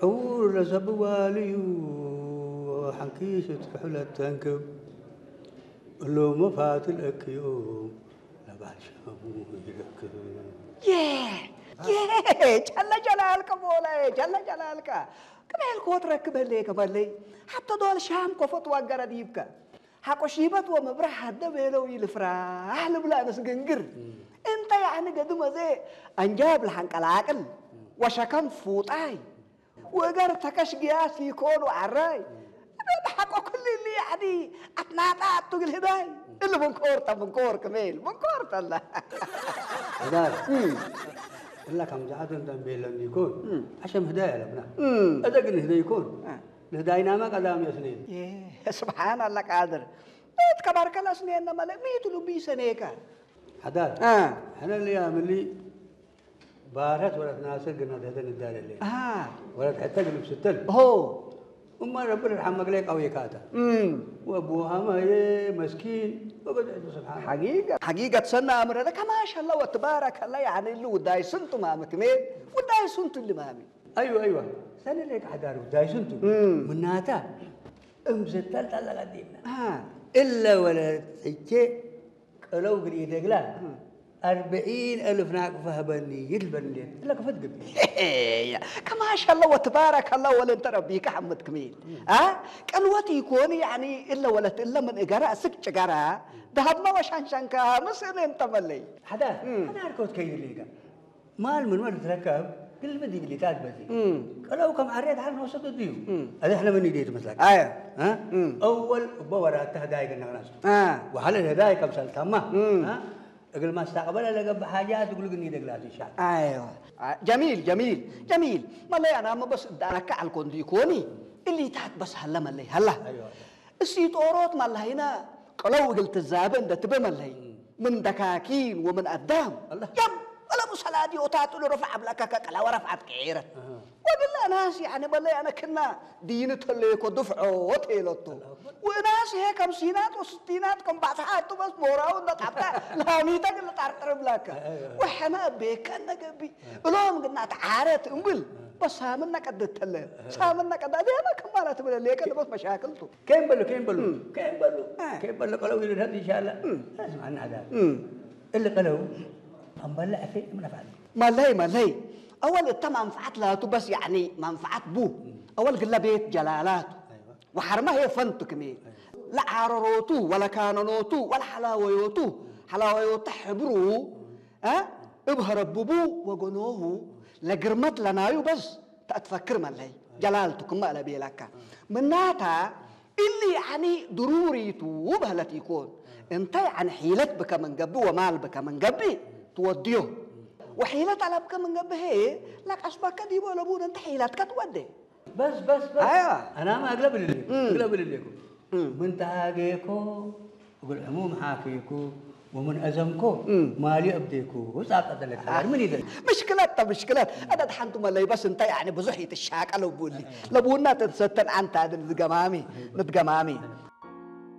ዕውር ለሰብዋልዩ ሓንኪስ ትክሕለት ተንክብ እሎ መፋትል እክዮም ለባል ሻሙ ይረክብ። የ የ ጀለ ጀላልከ ሞላየ ጀለ ጀላልከ ቅሜልኮ ትረክበለየ ከመለይ ሓብተ ዶል ሻም ኮፈት ዋገረ ዲብከ ሓቆ ሺበት ወመብረህ ሃደ ቤለው ይልፍራህ ልብላ ነስግንግር እንተ ያዕኒ ገድመ ዘ አንጃብ ለሐንቀላቅል ወሸከም ፉጣይ ወገር ተከሽ ግያስ ይኮኑ ዓራይ እደ ሐቆ ኩልሊ ያዕኒ አትናጣ አቱግል ህዳይ እሊ ምንኮር ተ ምንኮር ክሜል ምንኮር ተላ ዳር እላ ከም ዝዓቶ እንተንቤለን ይኮን ዓሸም ህዳይ ኣለብና እደ ግን ህደ ይኮን ንህዳይናማ ቀዳም የስኔን ስብሓን ኣላ ቃድር እት ከባርከላ ስኔና መለ ሚቱ ልቢ ሰኔካ ሓዳር ሕነ ልያ ምሊ ባረት ወለት ናስር ግና ደህተ ንዳለለ ወለት ሕተ ግልብ ስተል ሆ እማ ረቢ ርሓም መግለይ ቀውየካታ ወብሃማየ መስኪን ወበድዕቱ ስብሓን ሓቂቀት ሰና ኣምረደ ከማሽ ኣላ ወትባረክ ኣላ ያዕኒ እሉ ውዳይ ስንቱ ማሚ ክሜ ውዳይ ስንቱ እሊ ማሚ ኣይዋ ኣይዋ ሰነ ለይ ካሕዳር ውዳይ ስንቱ ምናታ እምዝተልጠለቀ ዲብና እለ ወለ ሕቼ ቀለው ግዲ ደግላ ኣርብዒን እልፍ ናቅፋ ህበኒ ይድልበኒ እንዴት እለ ክፈት ግቢ ከማሽ ኣላ ወትባረክ ኣላ ወለ እንተ ረቢካ ሓመድ ክሜል ቀልወት ይኮን ያዕኒ እለ ወለት እለ ምን እገራ እስቅ ጭገራ ዳሃብማ ወሻንሻንካ ምስእነ እንተመለይ ሓዳር ሓዳር ከውት ከይድልካ ማል ምን ወል ትረከብ ግልብ ዲብሊታት በዚ ቀለው ከም ዓርያ ድሓር ንወሰዱ ድዩ እዚ ሕነ ምን ይደይ ትመስለካ ኣየ እ? እወል እቦ ወራታ ህዳይ ገነቅናስ ወሓለ ህዳይ ከም ሰልታማ እግል ማስታቅበለ ለገብ ሓጃት እግሉ ግን ይደግላት ይሻል ايوه جميل جميل جميل መለይ ኣና መበስ ዳረካ ዓልኮ እንዲ ይኮኒ እሊታት በስ ሃለ መለይ ሃላ أيوة. እሲ ጦሮት መላሂና ቀለው እግል ትዛበ እንደ ትበ መለይ ምን ደካኪን ወምን ኣዳም الله. ያም ቀለቡ ሰላዲ ኦታቱ ረፍዓ ብላካ ከቀላ ወረፍዓት ቀይረት ወግላ ናስ ያኒ በለይ ኣነ ክና ዲን ተለኮ ድፍዖ ቴለቶ ወናስ ሄ ከም ሲናት ወስቲናት ከም ባጽሓቱ በስ ሞራው እንደ ጣብታ ላሚታ ግን ጣርጥር ብላካ ወሐና ቤከ ነገቢ እሎም ግና ተዓረት እምብል በሳምና ቀደት ተለ ሳምና ቀዳ ደማ ከማላ ትብለ ለቀ ለበስ መሻክልቱ كيف بلو كيف بلو كيف بلو كيف بلو قالوا لي هذه إن شاء الله اسمع أنا هذا اللي قالوا أم بلع في من أفعل ማለይ ማለይ ኣወል እተ መንፍዓት ላቱ በስ ያዕኒ መንፍዓት ቡ ኣወል ግለ ቤት ጀላላቱ ወሓርማ ሄ ፈንቱ ክሜ ለዓረሮቱ ወለካነኖቱ ወለሓላወዮቱ ሓላወዮተ ሕብሩ እ እብ ሀረብቡ ወገኖሁ ለግርመት ለናዩ በስ ተእትፈክር መለይ ጀላልቱ ክመ ለቤለካ ምናታ እሊ ያዕኒ ድሩሪቱ በህለት ይኮን እንተ ያዕኒ ሒለት ብከ ምን ገብእ ወማል ብከ ምን ገብእ ትወድዮ ወሒለት አለብከ ምን ገብእ ሄ ለቀስበከ ዲቦ ለቡን እንተ ሒለትከ ትወደ بس بس بس أيوة. أنا ما أقلب اللي أقلب اللي من تهاجيكو أقول عموم حاكيكو ومن أزمكو مالي أبديكو وساقط لك من يدري ምሽክለት ተ ምሽክለት ኣደ ሓንቲ መለይ በስ እንታይ ያዕኒ ብዙሕ ይትሻቀል እቡሊ ለቡና ተንሰተን ኣንታ ድን ዝገማሚ ምትገማሚ